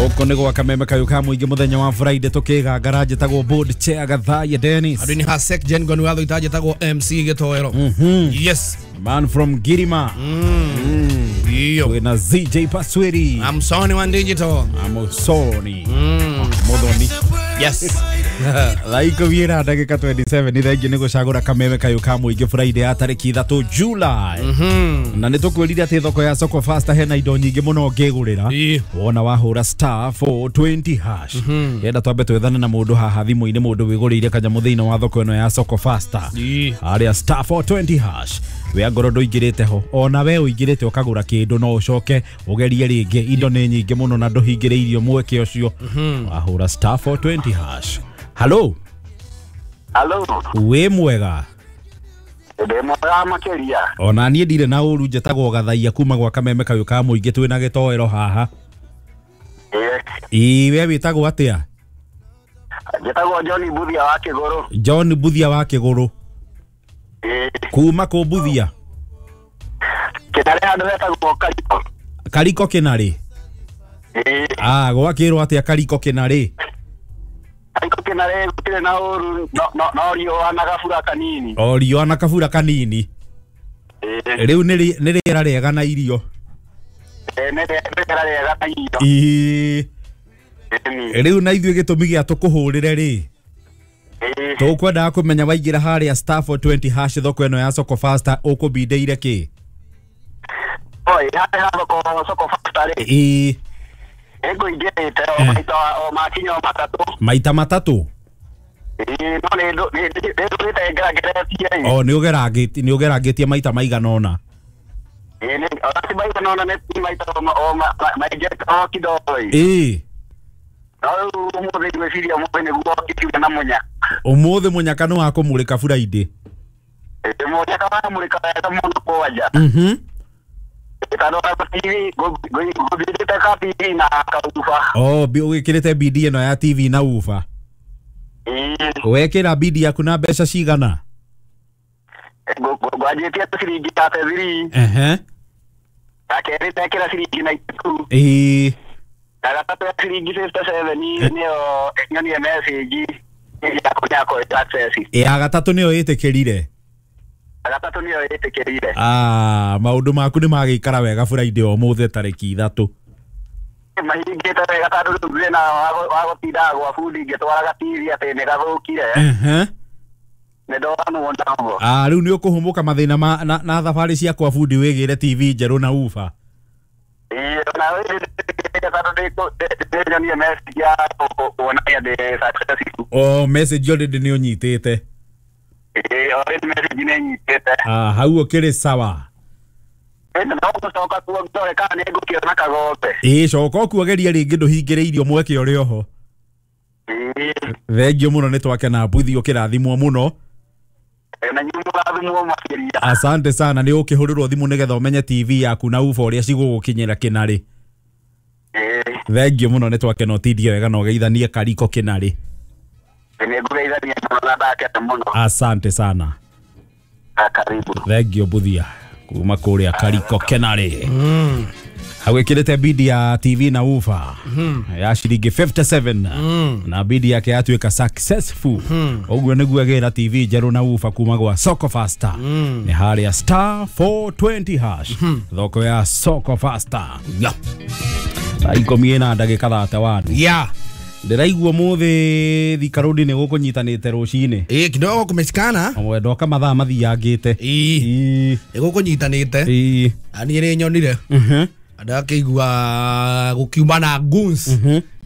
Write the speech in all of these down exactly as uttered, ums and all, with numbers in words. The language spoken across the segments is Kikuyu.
Gũkũ nĩ gwa kameme kayũ ka mũingĩ mũthenya wa Friday tũkĩgangara njĩtagwo board chair Gathaiya Dennis. Andũ nĩ Hasek Jen Gonu watho itanjĩtagwo M C Gĩtoero. Yes. Man from Girima. Iyo. Twĩna Z J Pasweri. I'm Sony wa digital. I'm Sony. Muthoni. Yes. Thaa ikũmi na ndagĩka twenty-seven nĩ thengiũ nĩ gũcagũra kameme kayũ ka mũingĩ Friday ya tarĩki ithatũ July. Na nĩ tũkwĩrire atĩ thoko ya Soko Fasta hena indo nyingĩ mũno ũngĩgũrĩra. Wona wahũra star four twenty hash. Yenda twambe twethane na mũndũ haha thimũ-inĩ, mũndũ wĩgũrĩire kanyamũ thĩinĩ wa thoko ĩno ya Soko Fasta. Harĩa star four twenty hash. We angorwo ndũingĩrĩte ho, ona we ũingĩrĩte ũkagũra kĩndũ no ũcoke ũgerie rĩngĩ. Indo nĩ nyingĩ mũno na ndũhingĩrĩirio mweke ũcio. Wahũra star four twenty hash. Hello. Hello. Wĩ mwega? Ndĩ mwega makĩria. Ona niĩ ndirĩ na ũru, njĩtagwo Gathaiya kuma gwa kameme kayũ ka mũingĩ twĩna Gĩtoero haha. Ĩĩ, we wĩtagwo atĩa? Njĩtagwo John Buthia wa Kĩgũrũ. John Buthia wa Kĩgũrũ. Kuma kũ Buthia? Kĩnarĩ handũ hetagwo Kariko. Kariko Kĩnarĩ? Ah, gwakĩrwo atĩa Kariko Kĩnarĩ? Kariko Kĩnarĩ gũtirĩ na ũru, no no riũa na gabura kanini. O riũa na kabura kanini. Rĩu nĩ rĩera rĩega na irio. Nĩ rĩera rĩega na irio. Ĩĩ. Rĩu na ithuĩ gĩtũmi gĩa tũkũhũrĩre rĩ, tũkwendaga kũmenya waingĩra harĩa star four twenty hash thoko ĩno ya Soko Fasta ũkũbindĩire kĩ? Oi, harĩa thoko Soko Fasta rĩ. Ĩĩ. Ngũingĩrĩte o maita o makinya matatũ. Maita matatũ? Ĩĩ, no nĩ ndũrĩte ngerangeretie. O nĩ ũgerangĩtie, nĩ ũgerangĩtie maita maigana ũna. Ĩĩ, nĩ ona ti maigana ũna, nĩ maita o maingĩ o kidogo. Ĩĩ. No rĩu ũmũthĩ ngwĩciria ũmũthĩ nĩguo ngĩkiuga na mũnyaka. Ũmũthĩ mũnyaka nĩ wa kũmũrĩka Friday. Ĩĩ, mũnyaka wa kũmũrĩka wega mũno kwanja. Mhm. Oh, wĩkĩrĩte bidi ĩno ya T V na ufa. Wekĩra bidi yaku na mbeca cigana? Ngwanjĩtie ciringi thirty-three. Ehe. Ya kerĩ ndekĩra ciringi ninety-two. Ĩĩ. Ya gatatũ ya ciringi fifty-seven nĩyo nyonie message ya kũnyakwo success. Ya gatatũ nĩyo ĩtĩkĩrire. Gatatũ nĩyo ĩtĩkĩrire. Ah, maũndũ maku nĩ magĩikara wega Friday ũmũthĩ tarĩki ithatũ. Mahingĩte wega tondũ rĩu thĩna wa gũtindaga gwa bundi ngĩtwaraga T V atĩ nĩ gathũkire. Ehe. Nĩ ndonwo naguo. Ah, rĩu nĩ ũkũhũmũka mathĩna ma na thabarĩ cia kwa bundi wĩgĩre T V njerũ na ufa. Ĩĩ, na nĩ nyonie message ya kuonania ndĩ successful. Oh, message already nĩ ũnyitĩte. Ĩĩ, already message nĩ nyitĩte. Ah, hau ũkĩrĩ sawa. No gũcoka kuo ndore kana nĩ ngũkĩona kagombe. Ĩĩ, coka ũkuageria rĩngĩ ndũhingĩrĩirio mweke ũrĩ oho. Thengiũ mũno nĩ twakena Buthi ũkĩrathimwo mũno. Na inyuĩ mũrathimwo makĩria. Asante sana, nĩ ũkĩhũrĩrwo thimũ nĩgetha ũmenye T V yaku na ufa ũrĩa cigũgũkinyĩra Kĩnarĩ. Thengiũ mũno nĩ twakena ũtindie wega na ũgeithanie Kariko Kĩnarĩ. Nĩ ngũgeithania mũno na ndakena mũno. Asante sana. Karibu. Thengiũ Buthia kuma kũrĩa Kariko Kĩnarĩ. Agwĩkĩrĩte bidi ya T V na ufa ya ciringi fifty-seven na bidi yake yatuĩka successful. Ũguo nĩguo agĩra T V njerũ na ufa kuma gwa Soko Fasta. Nĩ harĩa star four twenty hash thoko ya Soko Fasta. Thaa ikũmi na ndagĩka thirty-one. Yeah. Ndĩraigua mũthĩ Thika Road nĩ gũkũnyitanĩte rũcinĩ. Ĩĩ, kidogo kumeshikana. Ndoka mathaa mathiangĩte. Ĩĩ. Nĩ gũkũnyitanĩte. Ĩĩ. Na niĩ nĩ nyonire. Mhm. Ndakĩigua gũkiuma na goons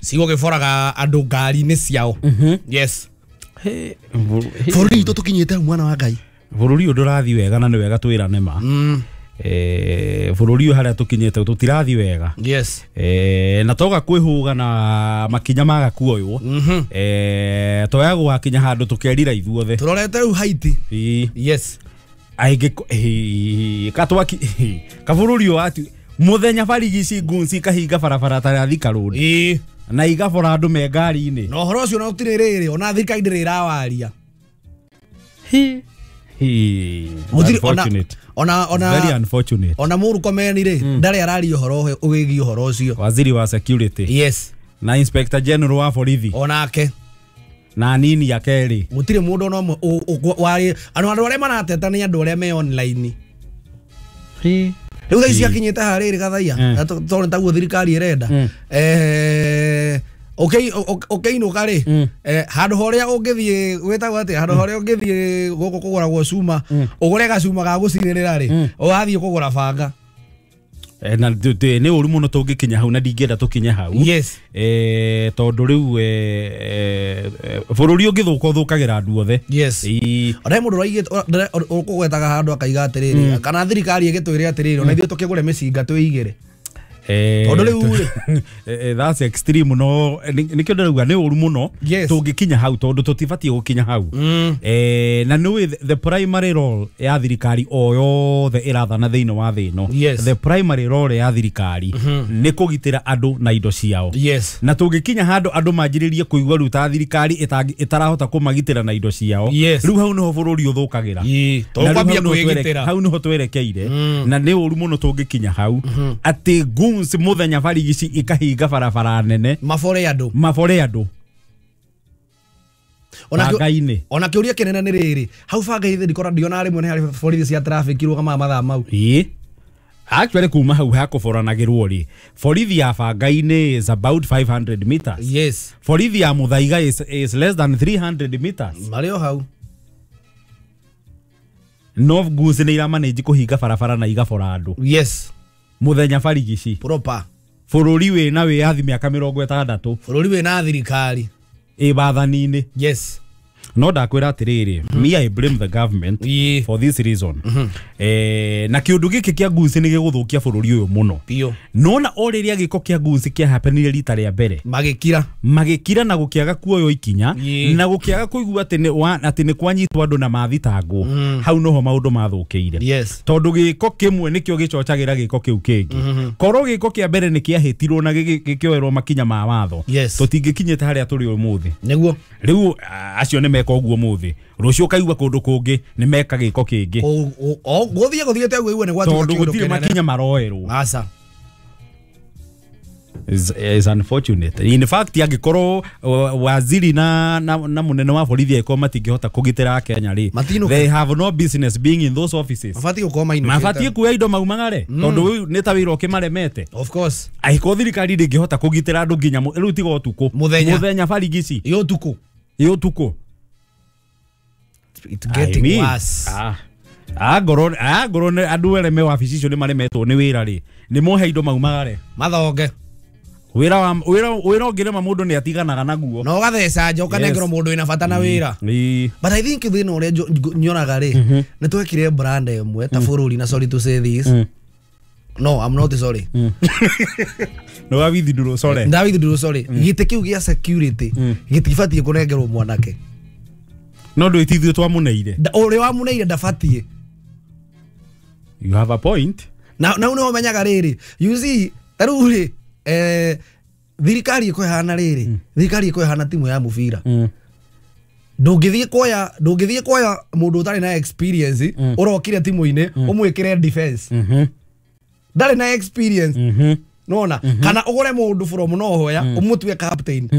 cigũgĩboraga andũ ngari-inĩ ciao. Yes. Bũrũri witũ tũkinyĩte mwana wa Ngai. Bũrũri ũyũ ndũrathiĩ wega na nĩ wega twĩrane ma. Eh, bũrũri ũyũ harĩa tũkinyĩte tũtirathiĩ wega. Yes. Eh, na toga kwĩhũga na makinya maga kuoywo. Eh, toya gwakinya handũ tũkerira ithuothe. Tũrorete rĩu Haiti. Ĩĩ. Yes. Aingĩ katwaki kabũrũri ũyũ ati muthenya barigici ngunci kahinga barabara ta ya Thika Road. Ĩĩ. Na igabora andũ me ngari-inĩ. Na ũhoro ũcio na ũtirĩ rĩrĩ ona thirikari ndĩrĩ ĩrawaria. Hi. Hi. Unfortunate. Ona ona very unfortunate. Ona Murkomen rĩ ndarĩ araria ũhoro ũgĩgiĩ ũhoro ũcio. Waziri wa security. Yes. Na Inspector General wa borithi onake na nini ya kerĩ gũtirĩ mũndũ ona ũmwe warĩ andũ andũ arĩa marateta nĩ andũ arĩa me online. Rĩu thaa ici akinyĩte harĩrĩ Gathaia tondũ taguo thirikari ĩrenda eh ũkĩinũka rĩ handũ horĩa ũngĩthiĩ gwĩtagwo atĩa handũ horĩa ũngĩthiĩ gũkũ kũgũragwo cuma ũgũre gacuma ga gũcinĩrĩra rĩ ũgathiĩ kũgũra banga. Na nĩ ũru mũno tũngĩkinya hau na ndingĩenda tũkinye hau. Yes. Eh tondũ rĩu bũrũri ũngĩthũka ũthũkagĩra andũ othe. Yes. Ona mũndũ ũraigĩte ũkũgwetaga handũ akaiga atĩrĩrĩ kana thirikari ĩgĩtwĩre atĩrĩrĩ ona ithuĩ tũkĩgũre mĩcinga twĩigĩre. Tondũ rĩu rĩ that's extreme no nĩkĩo ndĩrauga nĩ ũru mũno tũngĩkinya hau tondũ tũtibatiĩ gũkinya hau. Eh na nĩ the primary role ya thirikari o yothe ĩrathana thĩinĩ wa thĩ ĩno. The primary role ya thirikari nĩ kũgitĩra andũ na indo ciao. Na tũngĩkinya handũ andũ manjĩrĩrie kũigua rĩu ta thirikari ĩtarahota kũmagitĩra na indo ciao rĩu hau nĩho bũrũri ũthũkagĩra. Hau nĩho twerekeire na nĩ ũru mũno tũngĩkinya hau atĩ goons muthenya barigici ikahinga barabara nene mabore andu mabore andu ona ona kiuria kinene ni riri hau banga-inĩ ndikora ndiona rĩmwe nĩ harĩ borithi cia traffic irũgamaga mathaa mau. Ĩĩ actually kuma hau hakũboranagĩrwo rĩ borithi ya banga-inĩ is about five hundred meters. Yes. Borithi ya Muthaiga is, is less than three hundred meters marĩ o hau. No goons nĩ iramanage kũhinga barabara na igabora andu. Yes. Muthenya barigici proper bũrũri wĩna wĩyathi mĩaka mĩrongo ĩtandatũ bũrũri wĩna thirikari ĩ bathani-inĩ. Yes. No ndakwĩra atĩrĩrĩ me I blame the government for this reason. Eh na kĩũndũ gĩkĩ kĩa goons nĩ gĩgũthũkia bũrũri ũyũ mũno. Nona o rĩrĩa gĩko kĩa goons kĩa happenire rita rĩa mbere magĩkira magĩkira na gũkĩaga kuoywo ikinya na gũkĩaga kũigua atĩ nĩ atĩ nĩ kwanyitwo andũ na mathitangwo hau noho maũndũ mathũkĩire. Tondũ gĩko kĩmwe nĩkĩo gĩcocagĩra gĩko kĩu kĩngĩ. Korwo gĩko kĩa mbere nĩ kĩahĩtirwo na gĩkĩoerwo makinya ma watho tũtingĩkinyĩte harĩa tũrĩ ũmũthĩ. Nĩguo rĩu acio nĩ meka ũguo mũthĩ rũciũ kaigua kũndũ kũngĩ nĩ meka gĩko kĩngĩ gũthiĩ gũthiĩte ũguo igue nĩ gwatuĩka tondũ gũtirĩ makinya maroerwo. Aca is is unfortunate. In fact angĩkorwo waziri na na, na munene wa borithi angĩkorwo matingĩhota kũgitĩra Kenya rĩ they have no business being in those offices. Mabatiĩ gũkorwo mainũkĩte mabatiĩ kuoya indo maumagare tondũ nĩ ta wĩra ũkĩmaremete. Of course. Angĩkorwo thirikari ndĩngĩhota kũgitĩra andũ nginya rĩu tiga ũtukũ mũthenya mũthenya barigici ĩ ũtukũ ĩ ũtukũ it's getting I mean, worse. Ah, angorwo angorwo andũ arĩa me wabici icio nĩ maremetwo nĩ wĩra rĩ nĩ mohe indo maumagare mathonge wĩra wa wĩra wĩra ũngĩrema mũndũ nĩ atiganaga naguo na ũgatheca nja ũkanengerwo mũndũ wĩna bata na wĩra. But I think thĩna ũrĩa nyonaga rĩ nĩ twekire brand ĩmwe ta bũrũri na sorry to say this. No, I'm not sorry. No wawithindurwo sorry. Ndawithindurwo sorry. Gĩtĩ kĩu gĩa security gĩtibatiĩ kũnengerwo mwanake. No ndwĩtithio twamuneire ũrĩa wamuneire ndabatiĩ. You have a point. Na na nĩ ũmenyaga rĩrĩ you see ta rĩu rĩ eh thirikari ĩkũhana rĩrĩ thirikari ĩkũhana timu ya mũbira ndũngĩthiĩ kuoya ndũngĩthiĩ kuoya mũndũ ũtarĩ na experience ũrokire timu-inĩ ũmwĩkĩre defense ndarĩ na experience nona kana ũgũre mũndũ from nowhere ũmũtue captain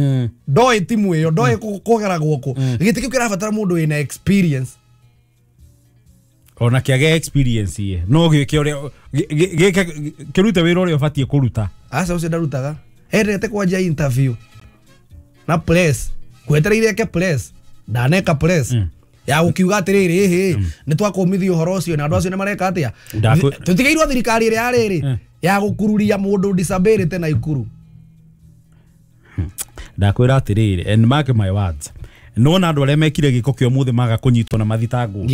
ndoĩ timu ĩyo ndoĩ kũgera guoko gĩtĩ kĩu kĩrabatara mũndũ wĩna experience ona kĩage experience ye no gĩke ũrĩa gĩke kĩrute wĩra ũrĩa ũbatiĩ kũruta. Aca ũcio ndarutaga endete kwanjia interview na press kwetereire eke press ndaneka press ya gũkiuga atĩrĩrĩ ĩhĩ nĩ twakũmithia ũhoro ũcio na andũ acio nĩ mareka atĩa tũtigeirwo thirikari ĩrĩa yarĩrĩ ya gũkururia mũndũ disability na ikuru. Ndakwĩra atĩrĩrĩ and mark my words nona andũ arĩa mekire gĩko kĩa ũmũthĩ maga kũnyitwo na mathitangwo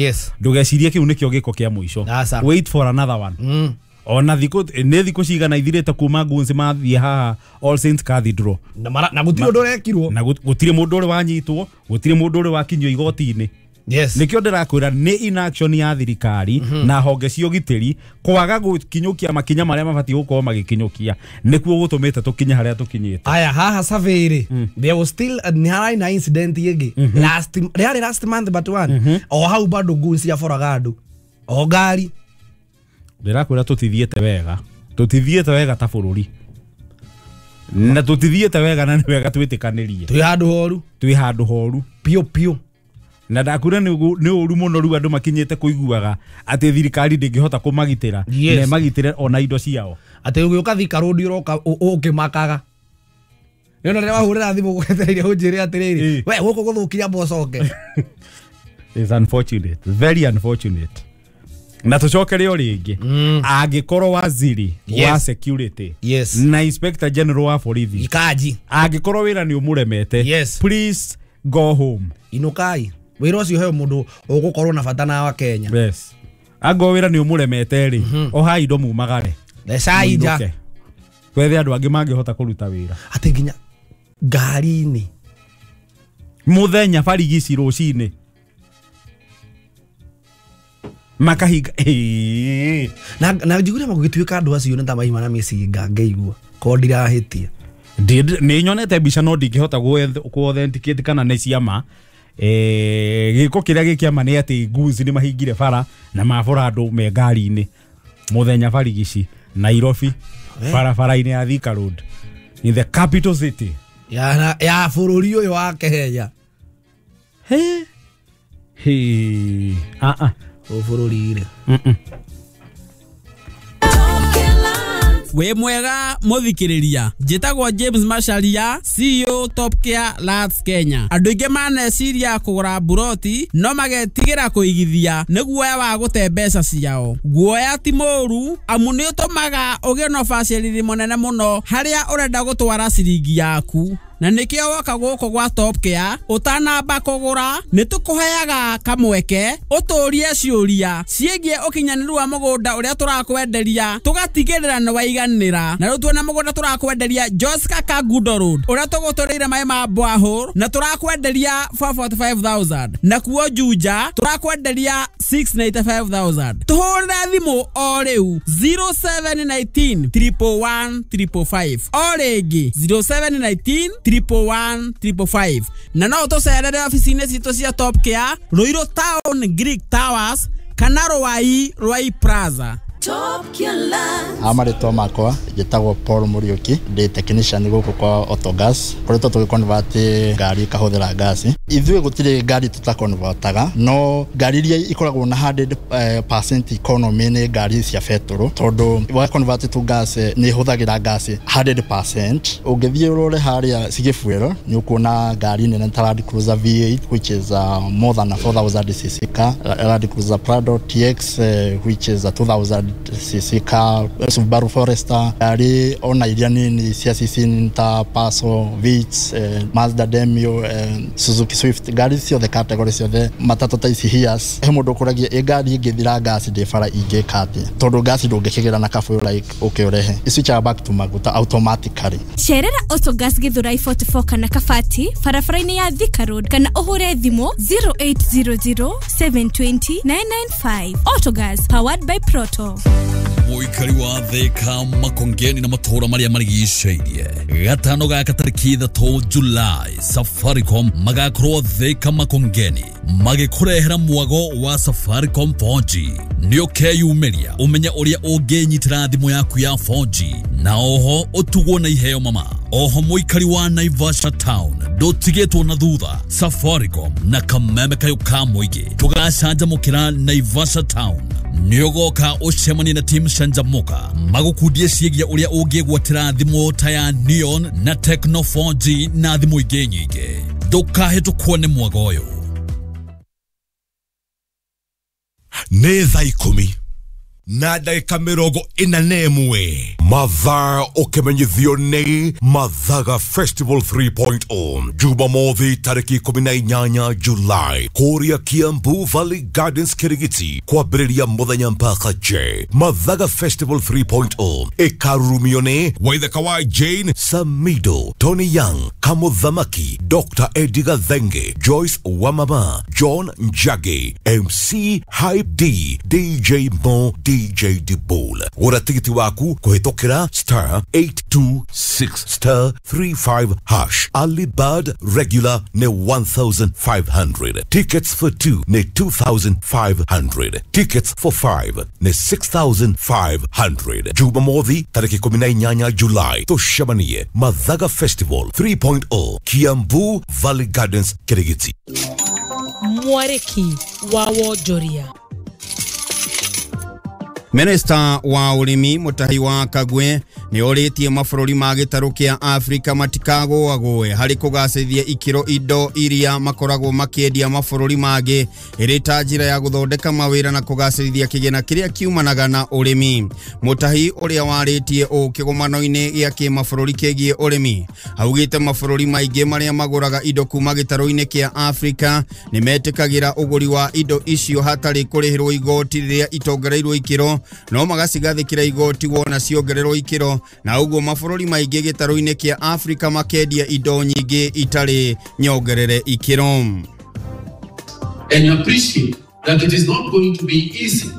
ndũgecirie kĩu nĩkĩo gĩko kĩa mũico. Wait for another one. Mm. Ona thikũ nĩ thikũ cigana ithirĩte kuma goons mathiĩ haha All Saints Cathedral na na gũtirĩ ũndũ ũrekirwo na gũtirĩ mũndũ ũrĩ wanyitwo gũtirĩ mũndũ ũrĩ wakinyio igoti-inĩ. Yes. Nĩkĩo ndĩrakwĩra nĩ inaction ya thirikari mm -hmm. na honge cia ũgitĩri kwaga gũkinyũkia makinya marĩa mabatiĩ gũkorwo magĩkinyũkia nĩkuo gũtũmĩte tũkinye harĩa tũkinyĩte. Aya haha survey rĩ mm. there was still nĩ hararĩ na incident ĩngĩ mm -hmm. last rĩarĩ last month but one mm -hmm. o hau bado goons ciaboraga andũ o ngari. Ndĩrakwĩra tũtithiĩte wega tũtithiĩte wega ta bũrũri. Na tũtithiĩte wega na nĩ wega twĩtĩkanĩrie. Twĩ handũ horu. Twĩ handũ horu. Piũ piũ. Na ndakura nĩ ũru mũno rĩu andũ makinyĩte kũiguaga atĩ thirikari ndĩngĩhota kũmagitĩra. Yes. Na ĩmagitĩre ona indo ciao. Atĩ ũgĩũka Thika Road ũroka ũkĩmakaga. Nĩ ona rĩrĩa wahũrĩra thimũ gwetereire ũnjĩre atĩrĩrĩ, we gũkũ gũthũkia amba ũcoke. It's unfortunate, very unfortunate. Na tũcokere o rĩngĩ. Angĩkorwo waziri Yes. wa security Yes. na inspector general wa borithi Ikaji. angĩkorwo wĩra nĩ ũmũremete, Yes. please go home. Inukai. Wĩra ũcio heo mũndũ ũgũkorwo na bata na wa Kenya. Yes. Angĩkorwo wĩra nĩ ũmũremete rĩ, ohai indo mumagare. Thecai nja. Mũinũke. Twethe andũ angĩ mangĩhota kũruta wĩra. Atĩ nginya ngari-inĩ. Mũthenya barigici rũcinĩ. Makahinga. Ĩĩ. Na na njiguire magũgĩtuĩka andũ acio nĩ ta maima na mĩcinga ngĩigua. Korwo ndirahĩtia. Nĩ nyonete mbica no ndingĩhota kũ authenticate kana nĩ ciama. Eh, gĩko kĩrĩa gĩ kĩama nĩ atĩ goons nĩ mahingire bara na mabora andũ me ngari-inĩ mũthenya barigici Nairobi barabara-inĩ ya Thika Road in the capital city ya ya bũrũri ũyũ wa Kenya. He he ah ah bũrũri rĩ. Mm. Wĩ mwega mũthikĩrĩria, njĩtagwo James Macharia, C E O Top Care Lands Kenya. Andũ aingĩ maneciria kũgũra mburoti no magetigĩra kũigithia nĩ guoya wa gũte mbeca ciao. Guoya ti mũũru amu nĩ ũtũmaga ũgĩe na ũbacĩrĩri mũnene mũno harĩa ũrenda gũtwara ciringi yaku. Na nĩkĩo woka gũkũ gwa Top Care ũtanamba kũgũra nĩ tũkũheaga kamweke ũtũrie ciũria ciĩgiĩ ũkinyanĩru wa mũgũnda ũrĩa tũrakwenderia tũgatigĩrĩra nĩ waiganĩra. Na rĩu tuona mũgũnda tũrakwenderia Joska Kangundo Road ũrĩa tũgũtũrĩire maĩ ma borehole na tũrakwenderia four forty five thousand, na kuo Juja tũrakwenderia six ninety five thousand. Tũhũrĩre thimũ o rĩu zero seven nineteen triple one triple five, o rĩngĩ zero seven nineteen triple one triple five. Na no tũcerere ofici-inĩ citũ cia Top Care Ruiru Town Greek Towers kana Ruai Ruai Plaza. Top Care Lands. Amarĩtwa makwa njĩtagwo Paul Muriuki, ndĩ technician gũkũ kwa Autogas. Koretwo tũgĩconvert ngari ĩkahũthĩra ngasi. Ithuĩ gũtirĩ ngari tũtaconvertaga, no ngari iria ikoragwo na hundred percent economy nĩ ngari cia betũrũ, tondũ wa convert to gas nĩ ĩhũthagĩra ngasi hundred percent. Ũngĩthiĩ ũrore harĩa Sigĩbuero nĩ ũkuona ngari nene ta Land Cruiser V eight which is uh, more than a four thousand cc car, Land Cruiser Prado T X uh, which is a two thousand cc car, Subaru Forester, ngari ona iria nini cia cc ta Paso, Vitz, eh, Mazda Demio, eh, Suzuki Swift, ngari ciothe category ciothe matatũ ta ici Hiace. He mũndũ ũkũragia ĩ ngari ĩngĩthira ngasi ndĩ bara ingĩka atĩa, tondũ ngasi ndũngĩkĩgĩra na kabũyũ like ũkĩũrehe ĩswitchaga back to maguta automatically. Cerera Autogas Githurai forty four kana Kabati barabara-inĩ ya Thika Road kana ũhũre thimũ zero eight zero zero seven twenty nine nine five. Autogas powered by Proto. Mũikari wa Thika Makongeni na matũũra marĩa marigicĩirie gatano gaka tarĩki ithatũ July Safaricom magakorwo Thika Makongeni magĩkũrehera mwago wa Safaricom four G. Nĩ ũkeyumĩria ũmenye ũrĩa ũngĩnyitĩra thimũ yaku ya four G na oho ũtugwo na iheo mama. Oho mũikari wa Naivasha Town ndũtigĩtwo na thutha. Safaricom na kameme kayũ ka mũingĩ tũgacanjamũkĩra Naivasha Town. Nĩ ũgoka ũcemanie na team Canjamuka magũkundie ciĩgiĩ ũrĩa ũngĩgwatĩra thimũ ta ya Neon na Tecno four G na thimũ ingĩ nyingĩ. Ndũkahĩtũkwo nĩ mwago ũyũ. Nĩ thaa ikũmi na ndagĩka mĩrongo ĩna na ĩmwe mathaa ũkĩmenyithio nĩ Mathaga Festival three point oh Jumamothi tarĩki ikũmi na inyanya July kũrĩa Kiambu Valley Gardens Kirigiti kwambĩrĩria mũthenya mpaka J. Mathaga Festival three point oh ĩkarurumio nĩ Waithaka wa Jane Samido, Tony Young, Kamuthamaki, Doctor Eddie Gathenge, Joyce Wamama, John Njagi, M C Hype D, D J Mo D D J Dibol. Gũra tigiti waku kũhĩtũkĩra star eight two six star three five hash. Early bird regular nĩ one thousand five hundred. Tickets for two nĩ two thousand five hundred. Tickets for five nĩ six thousand five hundred. Jumamothi tarĩki ikũmi na inyanya July tũcemanie Mathaga Festival three point oh Kiambu Valley Gardens Kirigiti. Mwariki wa wonjoria. Minista wa ũrĩmi Mutahi wa Kagwe nĩ orĩtie mabũrũri ma gĩtarũ kĩa Afrika matikagũagũe harĩ kũgacĩrithia ikĩro indo iria makoragwo makĩendia mabũrũri mangĩ ĩrĩ ta njĩra ya gũthondeka mawĩra na kũgacĩrithia kĩgĩna kĩrĩa kiumanaga na ũrĩmi. Mutahi ũrĩa warĩtie ũũ kĩgomano-inĩ gĩa kĩmabũrũri kĩgiĩ ũrĩmi augĩte mabũrũri maingĩ marĩa magũraga indo kuma gĩtarũ-inĩ kĩa Afrika nĩ metĩkagĩra ũgũri wa indo icio hatarĩ kũrĩhĩrwo igoti rĩrĩa itongereirwo ikĩro no magacigathĩkĩra igoti wona ciongererwo ikĩro na ũguo mabũrũri maingĩ gĩtarũ-inĩ kĩa Afrika makendia indo nyingĩ itarĩ nyongerere ikĩro. And appreciate that it is not going to be easy.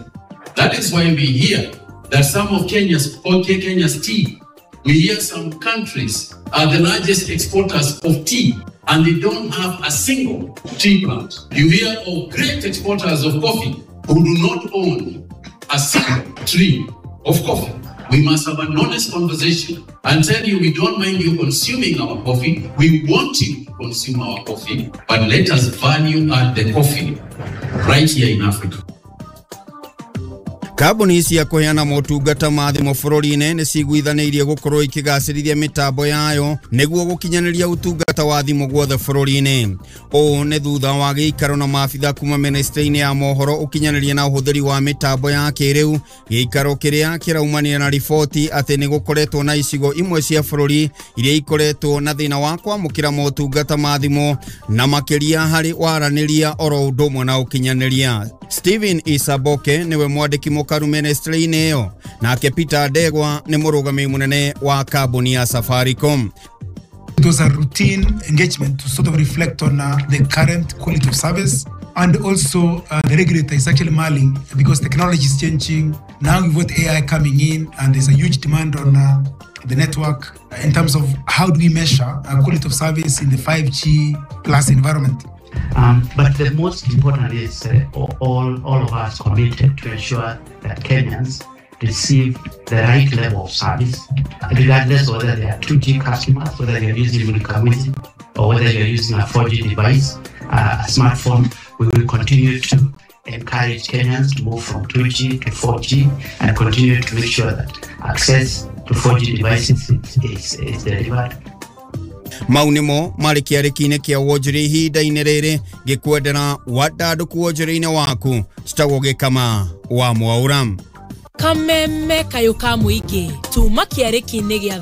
That is why we hear that some of Kenya's, okay, Kenya's tea, we hear some countries are the largest exporters of tea and they don't have a single tea plant. You hear of great exporters of coffee who do not own a single tree of coffee. We must have an honest conversation and tell you we don't mind you consuming our coffee. We want you to consume our coffee, but let us value add the coffee right here in Africa. Kambuni cia kũheana motungata ma thimũ bũrũri-inĩ nĩ ciguithanĩirie gũkorwo ikĩgacĩrithia mĩtambo yayo nĩguo gũkinyanĩria ũtungata wa thimũ guothe bũrũri-inĩ. Ũũ nĩ thutha wa gĩikaro na maabitha kuma ministry-inĩ ya mohoro ũkinyanĩria na ũhũthĩri wa mĩtambo ya kĩrĩu, gĩikaro kĩrĩa kĩraumanire na riboti atĩ nĩ gũkoretwo na icigo imwe cia bũrũri iria ikoretwo na thĩna wa kwamũkĩra motungata ma thimũ na makĩria harĩ waranĩria oro ũndũ ũmwe na ũkinyanĩria. Steven Isaboke niwe mwandĩki mũkaru ministry-inĩ ĩyo, nake Peter Ndegwa nĩ mũrũgamĩrĩri mũnene wa kambuni ya Safaricom. It was a routine engagement to sort of reflect on uh, the current quality of service, and also uh, the regulator is actually mulling because technology is changing. Now we've got A I coming in and there's a huge demand on uh, the network in terms of how do we measure uh, quality of service in the five G plus environment. Um, but the most important is uh, all, all of us committed to ensure that Kenyans receive the right level of service, regardless whether they are two G customers, whether they are using Mulika Mwizi, or whether they are using a four G device, uh, a smartphone. We will continue to encourage Kenyans to move from two G to four G and continue to make sure that access to four G devices is, is, is delivered. Mau nĩmo marĩ kĩarĩki-inĩ kĩa wonjoria ihinda-inĩ rĩrĩ gĩkwendera wandandũku wonjoria-inĩ waku citagwo Gĩkama wa Mwaũra. Kameme kayũ ka mũingĩ tuma kĩarĩki-inĩ gĩa